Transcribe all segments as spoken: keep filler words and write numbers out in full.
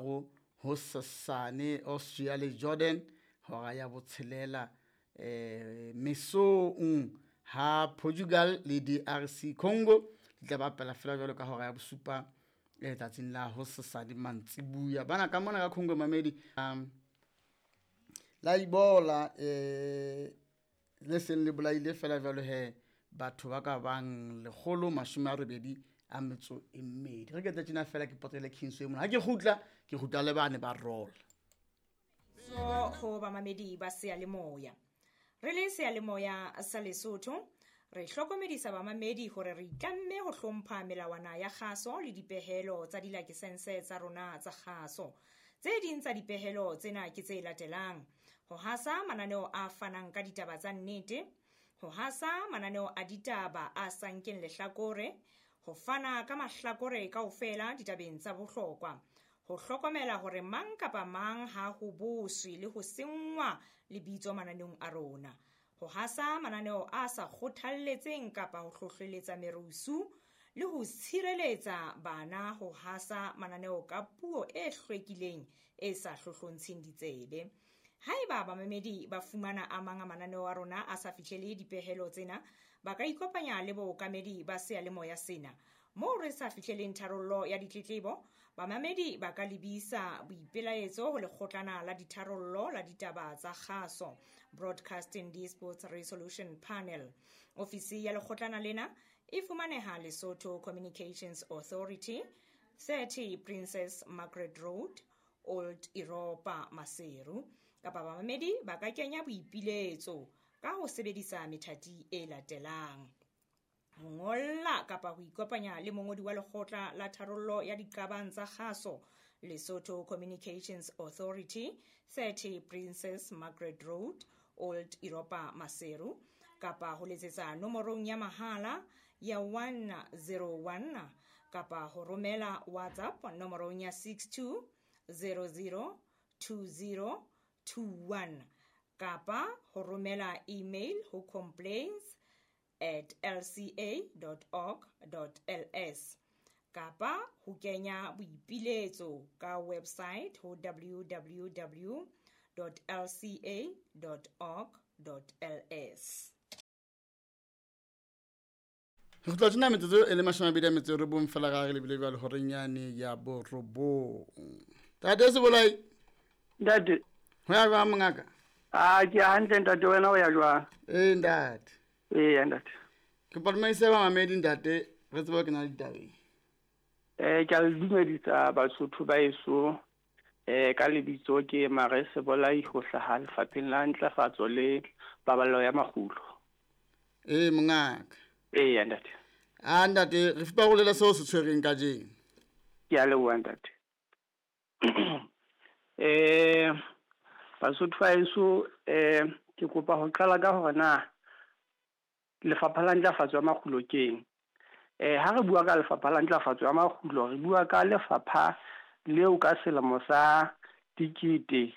boraro hosasane. Austria le Jordan hora ya botshelela eh mesong, ha Portugal le D R C Congo di tla bapala fela jwalo ka hora ya bosupa eh tsatsing la hosasane mantsibuya. Bana ka mona ka Congo mamedi um la Ebola eh le seng le bolaile fela jwalo he batho ba ka bang lekgolo mashome a robedi a metso e mmedi. Re ke tla tjena fela ke potele Kingsway mona. Ha ke kgutla, ke kgutla le bane ba rola. So ho bamamedi ba seyalemoya. Re le seyalemoya sa Lesotho, re hlokomedisa bamamedi hore re itlamme ho hlompha melawana ya kgaso le dipehelo tsa dilakesense tsa rona tsa kgaso. Tse ding tsa dipehelo tsena ke tse latelang: ho hasa mananeo a fanang ka ditaba tsa nnete, ho hasa mananeo a ditaba a sa nkeng lehlakore, ho fana ka mahlakore kaofela ditabeng tsa bohlokwa, ho hlokomela hore mang kapa mang ha ho boswe le ho senngwa lebitso mananeong a rona, ho hasa mananeo a sa kgothalletseng kapa ho hlohleletsa merusu, le ho tshireletsa bana ho hasa mananeo ka puo e hlwekileng e sa hlohlontsheng ditsebe. Haeba bamamedi ba fumana a mang a mananeo a rona a sa fihlele dipehelo tsena, ba ka ikopanya le bookamedi ba seyalemoya sena. Moo re sa fihleleng tharollo ya ditletlebo, bamamedi ba ka lebisa boipelaetso ho lekgotlana la ditharollo la ditaba tsa kgaso, Broadcasting Disputes Resolution Panel. Ofisi ya lekgotlana lena e fumaneha Lesotho Communications Authority, thirty Princess Margaret Road, Old Europa, Maseru. Kapa bamamedi ba ka kenya boipiletso ka ho sebedisa methati e latelang: ho ngolla kapa ho ikopanya le mongodi wa lekgotla la tharollo ya diqabang tsa kgaso, Lesotho Communications Authority, thirty Princess Margaret Road, Old Europa, Maseru, kapa ho letsetsa nomorong ya mahala ya one zero one, kapa ho romela WhatsApp nomorong ya six two zero zero two zero two one, kapa ho romela email ho complaints at l c a dot org dot l s, kapa ho kenya boipiletso ka website ho w w w dot l c a dot org dot l s. Re tla tjena metsotso e le mashome a mabedi a metso e robong fela ga re lebile jwale horeng yane ya borobong. Ntate Sebolai. Ntate. Ho ya jwang mongaka? Ah, ke hantle ntate, wena o ya jwang? Eh ntate. Eh ntate. Ke palmaise ba mamedi ntate, re tsebe ke na le ditabeng. Eh ke a le dumedisa Basotho ba eso. Eh ka lebitso ke Mare Sebolai ho hlaha lefapheng la ntlafatso le paballo ya makgulo. Eh mongaka. Eh ntate. Ah ntate, re fupa go lela seo se tshwereng kajeno. Ke a leboha ntate. Eh Basotho ba eso, eh ke kopa ho qala ka hore na lefapha la ntlafatso ya makgulo keng. Eh ha re bua ka lefapha la ntlafatso ya makgulo, re bua ka lefapha leo ka selemo sa dikete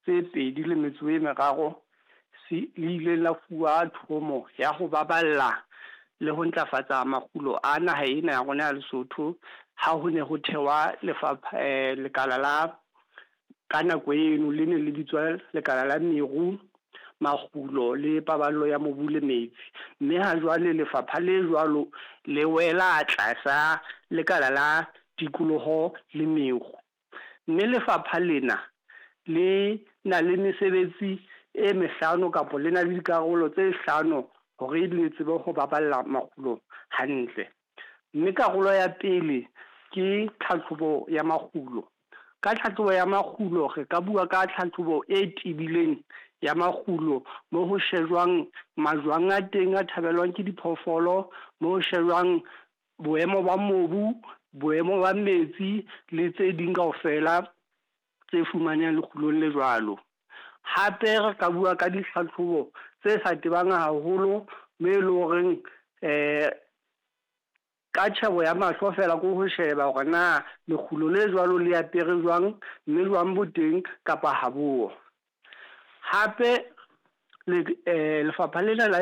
tse pedi le metso e meraro se le ile la fuwa thomo ya ho baballa le ho ntlafatsa makgulo a naha ena ya rona ya Lesotho, ha ho ne ho thewa lefapha eh, lekala la ka nako eno le ne le bitswa lekala la meru, makgulo le paballo ya mobu le metsi. Mme ha jwale lefapha le jwalo le wela tlasa lekala la tikoloho le meru. Mme lefapha lena le na le mesebetsi e mehlano kapa le na le dikarolo tse hlano hore le tsebe ho baballa makgulo hantle. Mme karolo ya pele ke tlhatlhobo ya makgulo. Ka tlhatlhobo ya makgulo re ka bua ka tlhatlhobo e tebileng ya makgulo, mo ho shejwang majwang a teng a thabelwang ke diphoofolo, mo ho shejwang boemo ba mobu, boemo ba metsi le tse ding kaofela tse fumanehang lekgulong le jwalo. Hape re ka bua ka ditlhatlhobo tse sa tebang haholo, mme e le horeng eh ka tjhebo ya mahlo fela ko ho sheba hore na lekgulo le jwalo le apere jwang, mme jwang bo teng kapa ha bo. Hape le eh lefapha lena la